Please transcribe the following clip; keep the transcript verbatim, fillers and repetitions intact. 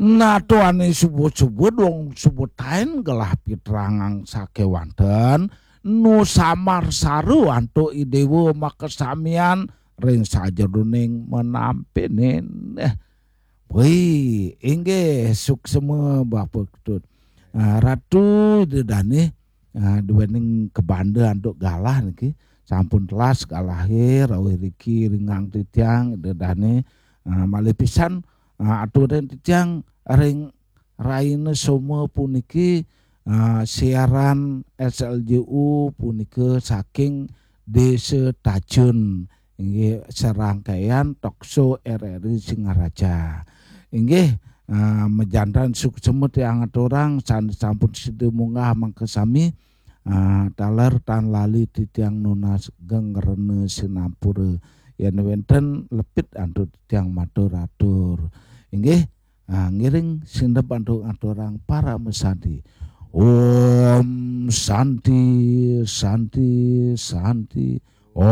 Nah, tuane subuh-subuh dong subuh tain gelah pitrangang sakewanten nu samar saru antuk idewa makasamian ring sajeroning menampene. Wih, inggih suksema Bapa Ketut. Ah, Ratu Ida Dane, ah, duening kabanda antuk galah niki. Sampun telas galahe rawuh riki ringang titiang Ida Dane. Ah, malih pisan, ah, aturin titiang ring raina Soma puniki, ah, siaran S L J U punika saking Desa Tajun, inggih serangkaian talk show R R I Singaraja. Inggih, ah, majanten suksema tiang aturang sane sampun sida munggah makasami, ah, taler tan lali titiang nunas geng rena sinampura. Yen wenten lepit antuk titiang matur atur. Inggih, ah, ngiring sineb antuk aturang paramasanti. Om Santi, Santi, Santi. Om